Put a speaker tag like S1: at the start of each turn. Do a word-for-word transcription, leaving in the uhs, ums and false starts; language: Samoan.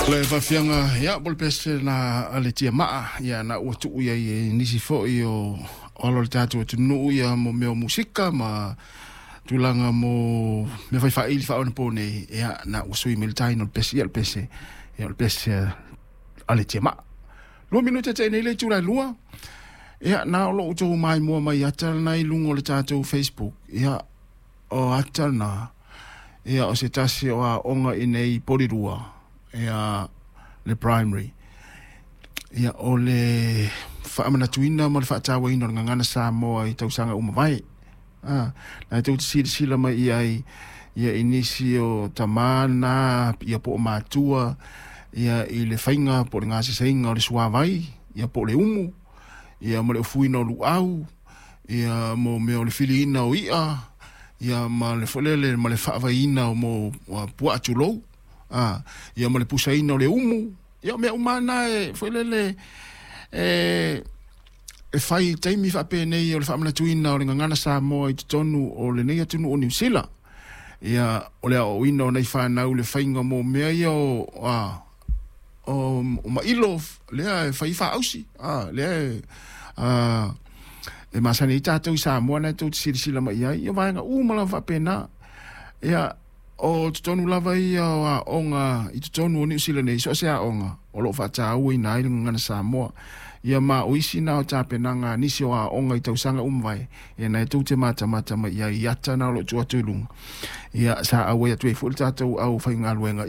S1: Le faafiaga ia mo le pese na a le tiamaa ia na ua tuu iai e nisi fo'i o o alo o le tatou atunuu ia mo mea o musika ma tulaga mo mea faifaaili faaonaponei ia na ua sui mai le taina o le pese ia le pese ia o le pese a le tiamaa. Lua minute te nei le itula e lua ia na o loo outou maimoa mai ata lena i luga o le tatou Facebook ia o ata lena ia o se tasi o aoga i nei Polirua ia le primary ia o le faamanatuina ma le faatauaina o le gagana Samoa i tausaga uma vae a na tou te silasila mai i ai ia i nisi o tamā na ia po o matua ia i le faiga po o le gaseseiga o le suavai ia po o le umu ia ma le ofuina o luau ia mo mea o le filiina o i'a ia ma le foi lele ma le faavaiina o mo puaa tulou a ia ma le pusaina o le umu ia o mea uma na e foi lele e e fai taimi faapenei o le faamanatuina o le gagana Samoa i totonu o lenei atunuu o Niu Sila ia o le aoaoina o nai fanau le faiga mo mea ia o a o, o mailo lea e fai faausi a lea e a e masani ai tatou i Samoa na e tou te silasila mai ai ia vaega uma lava faapena ia o totonu lava ia o aoga i totonu o Niu Sila nei so o se aoga o loo faatauaina ai le gagana Samoa ia ma o isi na o tapenaga a nisi o aoga i tausaga uma vae ia na e tou te matamata mai ai i ata na o loo tuu atu i luga ia sa auai atu ai foi le tatou aufaigaluega.